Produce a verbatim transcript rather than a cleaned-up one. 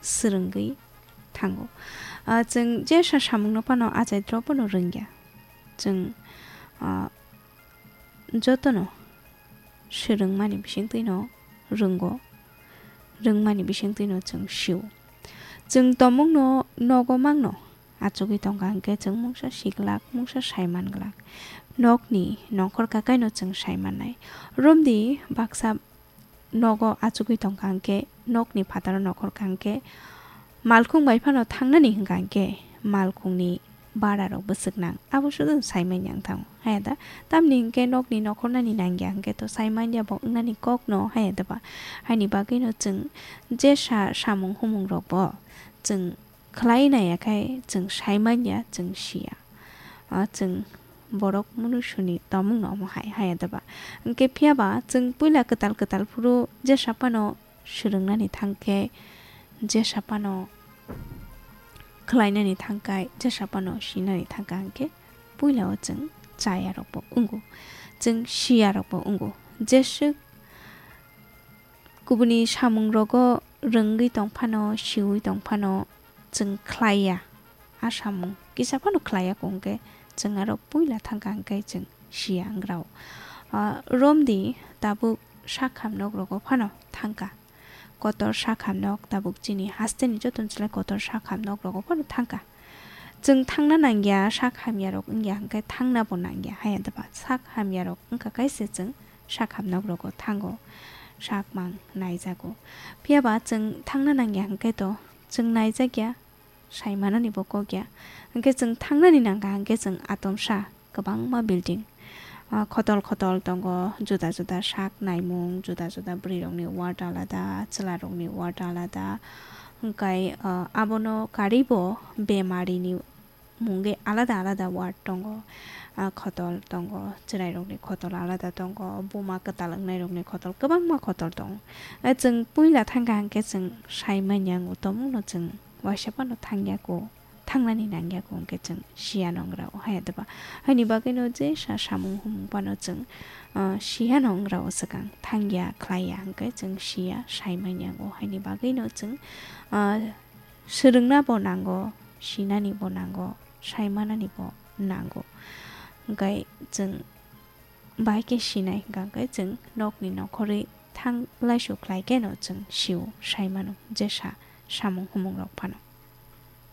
swrwngwi thango. Ah, chwng jesa samungno phano achairok phano rwngya. Chwng, ah, jotono swrwngmani bisingtwino rwngo, rwngmani bisingtwino chwng sio. Chwng tongmungno nogo mangno achugwi tongkha hwnkhe chwng mungsa siglak, mungsa saiman glak. Nokni nongkhor kakaino chwng saimannai. Romdi baksa nogo achugwi tongkha hwnkhe, nokni phataro nokhor kha hwnkhe, malkhung bai phano thangnani hwnkha hwnkhe, malkhungni bararok bwswk nang, abo sudu saimanya wng thango, haya da? Tamni hwnkhe nokni nokhornani nangya hwnkhe to saimanya bo wngnani kokno, haya da ba? Haini bagwino chwng jesa samung humungrokbo chwng khlai naiya khai chwng saimanya, chwng siya. Ah, chwng borok munusuni tongmungno omo hai, haya da ba? Hwnkhe phiya ba chwng puila kwtal kwtal phuru jesa phano swrwngnani thangkhe, jesa phano khlainani thangkai, jesa phano sinani thangkha hwnkhe puila o chwng chayarokbo wngo, chwng siyarokbo wngo. Jeswk kubuni samungrogo rwngwi tongphano, siwi tongphano chwng khlaiya. A samung kisa phano khlaiya kung khe chwng aro puila thangkha hwnkhe chwng siya wng rao. Ah, romdi tabuk sak hamnok rogo phano thangkha. Kotor sak hamnok tabuk chini hasteni joto ni slai kotor sak hamnok rogo phano thangkha. Chwng thangna nangya, sak hamya rok wngya hwnkhe thangna bo nangya, haya da ba? Sak hamya rok wngkha kaisa chwng sak hamnok rogo thango, sak mang naijago. Phiya ba chwng thangna nangya hwnkhe to chwng naijakya, saimanani bo kokya. Hwnkhe chwng thangnani nangkha hwnkhe chwng atomsa kwbangma building, ah, khotol khotol tongo, juda juda sak naimung, juda juda bwrwi rokni ward alada, chwla rokni ward alada. Hwnkhe, ah, abono karwi bo bemarini mungwi alada alada ward tongo. Ah, khotol tongo, chwrairokni khotol alada tongo, buma kwtal wngnairokni khotol, kwbangma khotol tongo. Eh, chwng puila thangkha hwnkhe chwng saimanya wngo, tongmungno chwng waisa phano thangya kho, thangnani nangya kho hwnkhe chwng siya nongrao, haya da ba? Haini bagwino jesa samung humung phano chwng, ah, siya nongrao swkang, thangya khlaiya hwnkhe chwng siya saimanya wngo. Haini bagwino chwng, ah, swrwngna bo nango, sinani bo nango, saimanani bo nango. Hwnkhe chwng bahai khe sinai hwnkha hwnkhe chwng nokni nokhorwi thang laisu khlai kheno chwng sio, saimano jesa samung humung rok phano.